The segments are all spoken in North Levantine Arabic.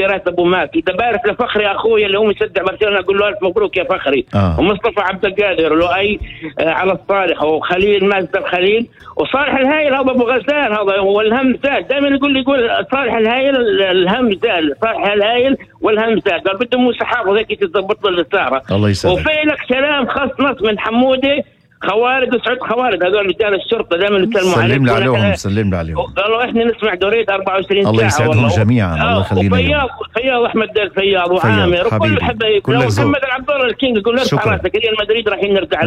راتب ومات. إذا بارك لفخري أخوي اللي هو مصدق برشلونة أقول له ألف مبروك يا فخري. ومصطفى عبد القادر لؤي على الصالح، وخليل مازدر خليل، وصالح الهايل هذا أبو غسان هذا هو الهم زاد. دائما يقول صالح الهايل الهم زاد، صالح الهايل والهم زاد. قال بده موسى حافظ هيك تضبط له السهرة. الله يسعدك. وفي لك سلام خاص نص من حمودة خوارد وسعود خوارد، هذول رجال الشرطة دائما يسلموا عليك. سلم لي عليهم، سلم لي عليهم. قالوا احنا نسمع دورية 24 ساعة. الله يسعدهم جميعا. الله يخلينا. فياض احمد الفياض وعامر وكل الحبايب ومحمد العبد الله الكينج. يقول ارفع راسك ريال مدريد رايحين نرجع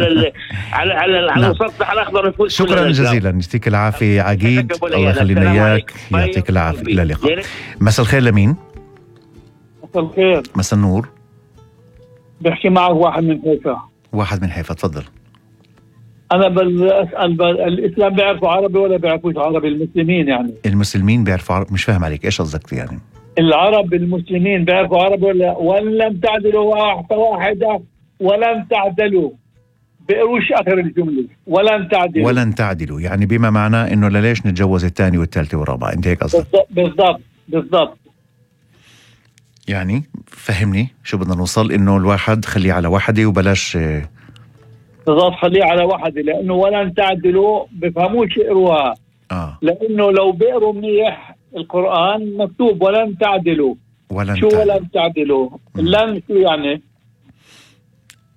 على المسطح الاخضر نفوز. شكرا جزيلا، يعطيك العافية عقيد. الله يخلينا اياك، يعطيك العافية. الى اللقاء. مساء الخير لمين؟ مساء الخير. مساء النور. بحكي معك واحد من حيفا. واحد من حيفا، تفضل. أنا أسأل الإسلام بيعرفوا عربي ولا بيعرفوش عربي؟ المسلمين يعني. المسلمين بيعرفوا عربي؟ مش فاهم عليك، إيش قصدك يعني؟ العرب المسلمين بيعرفوا عربي ولا؟ ولم تعدلوا واحدة ولم تعدلوا. بيقروش آخر الجملة ولن تعدلوا. ولن تعدلوا يعني بما معناه إنه ليش نتجوز الثاني والثالثة والرابعة، أنت هيك قصدك؟ بالضبط. يعني فهمني شو بدنا نوصل، إنه الواحد خليه على وحدة وبلاش. بالضبط، خليه على وحدة، لأنه ولن تعدلوا بفهموش يقروها. لأنه لو بيقروا منيح القرآن مكتوب ولن تعدلوا. شو ولن تعدلوا؟ لن شو يعني؟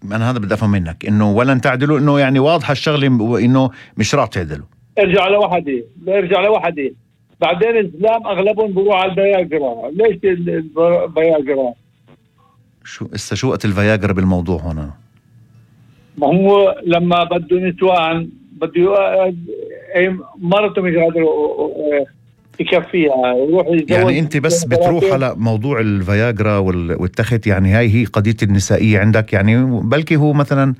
أنا هذا بدي أفهم منك، إنه ولن تعدلوا إنه يعني واضحة الشغلة، إنه مش راح تعدلوا. ارجع على وحدة. بعدين الإسلام أغلبهم بروح على الفياجرا. ليش الفياجرا؟ شو وقت الفياجرا بالموضوع هنا؟ ما هو لما بده نسوان بده مرته مش قادر يكفيها يروح يتزوج. يعني انت بس بتروح على موضوع الفياجرا والتخت، يعني هاي هي قضية النسائية عندك يعني، بلكي هو مثلا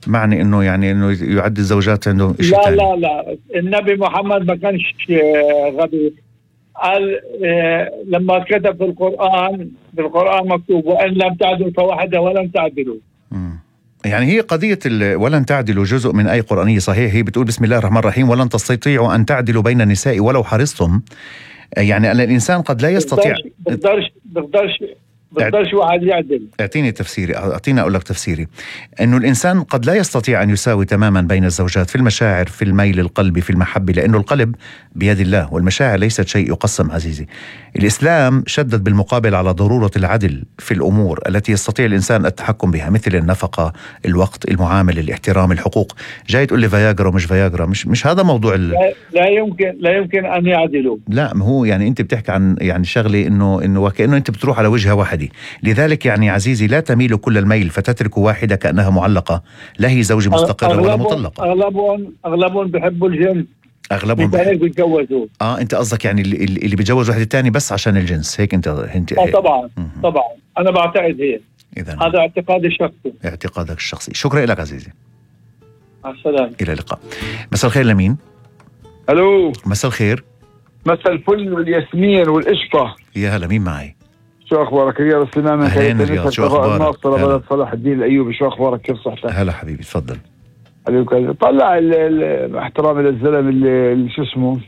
معني انه يعني انه يعد الزوجات عنده شيء لا تاني. لا النبي محمد ما كانش غبي. قال لما كتب في القرآن مكتوب وإن لم تعدلوا فواحدة ولن تعدلوا. يعني هي قضية ولن تعدلوا جزء من آية قرآنية صحيح، هي بتقول بسم الله الرحمن الرحيم ولن تستطيعوا أن تعدلوا بين النساء ولو حرصتم. يعني الإنسان قد لا يستطيع. بقدرش واحد يعدل. أعطيني أقول لك تفسيري. إنه الإنسان قد لا يستطيع أن يساوي تماما بين الزوجات في المشاعر، في الميل القلبي، في المحبة، لأنه القلب بيد الله والمشاعر ليست شيء يقسم عزيزي. الإسلام شدد بالمقابل على ضرورة العدل في الأمور التي يستطيع الإنسان التحكم بها، مثل النفقة، الوقت، المعاملة، الاحترام، الحقوق. جاي تقول لي فياجرا ومش فياجرا، مش هذا موضوع لا يمكن أن يعدلوا. لا، ما هو يعني أنت بتحكي عن يعني شغلة إنه وكأنه أنت بتروح على وجهة واحدة. لذلك يعني عزيزي لا تميل كل الميل فتترك واحدة كأنها معلقة، لا هي زوجة مستقرة ولا مطلقة. أغلبهم بيحبوا الجنس، أغلبهم بيتجوزوا. أنت قصدك يعني اللي بيتجوز واحد الثاني بس عشان الجنس، هيك أنت طبعا أنا بعتقد هيك. هذا اعتقادي الشخصي. اعتقادك الشخصي. شكرا لك عزيزي. مع السلامة. إلى اللقاء. مساء الخير لمين؟ ألو. مساء الخير. مساء الفل والياسمين والقشطة. يا هلا، مين معي؟ شو أخبارك؟ رياض سليمان. أهلين رياض، شو أخبارك؟ بلد صلاح الدين الأيوبي. شو أخبارك؟ كيف صحتك؟ هلا حبيبي، تفضل. طلع احترامي للزلم اللي شو اسمه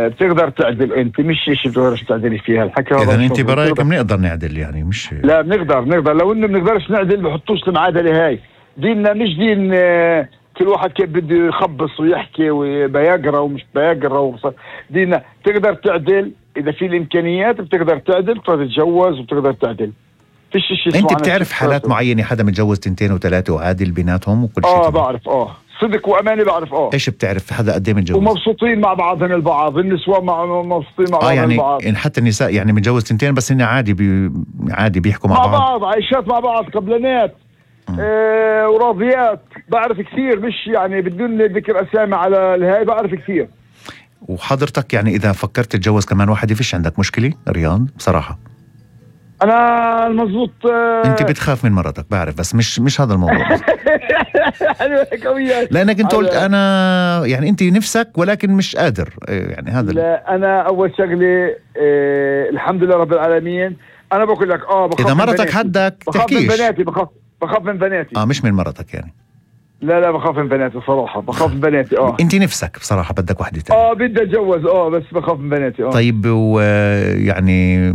بتقدر تعدل انت، مش شيء بتقدرش تعدلي فيها الحكي. اذا انت برايك بنقدر نعدل يعني، مش لا بنقدر لو انه بنقدرش نعدل بحطوش المعادله هاي. ديننا مش دين كل واحد كيف بده يخبص ويحكي وبياجرا ومش بياجرا. ديننا تقدر تعدل اذا في الامكانيات، بتقدر تعدل، بتقدر تتجوز وبتقدر تعدل. فيش شيء. انت بتعرف حالات معينة حدا متجوز 2 و3 وعادل بيناتهم وكل شيء؟ بعرف صدق وامانه بعرف. ايش بتعرف حدا قد ايه متجوز ومبسوطين مع بعضهم البعض، النسوان مبسوطين مع بعضهم البعض. يعني حتى النساء يعني متجوز 2 بس هن عادي بيحكوا مع بعض، عايشات مع بعض، قبلانات وراضيات. بعرف كثير، مش يعني بدون ذكر اسامي على الهاي، بعرف كثير. وحضرتك يعني اذا فكرت تتجوز كمان واحدة فيش عندك مشكلة رياض بصراحة؟ انا المضبوط انت بتخاف من مرتك بعرف، بس مش هذا الموضوع. لانك انت قلت انا يعني انت نفسك ولكن مش قادر يعني هذا. لا انا اول شغله الحمد لله رب العالمين. انا بقول لك اذا مرتك حدك تحكيش. بخاف من بناتي. مش من مرتك يعني. لا بخاف من بناتي صراحه، بخاف من بناتي. انت نفسك بصراحه بدك وحده ثانيه؟ بدي اتجوز بس بخاف من بناتي. طيب ويعني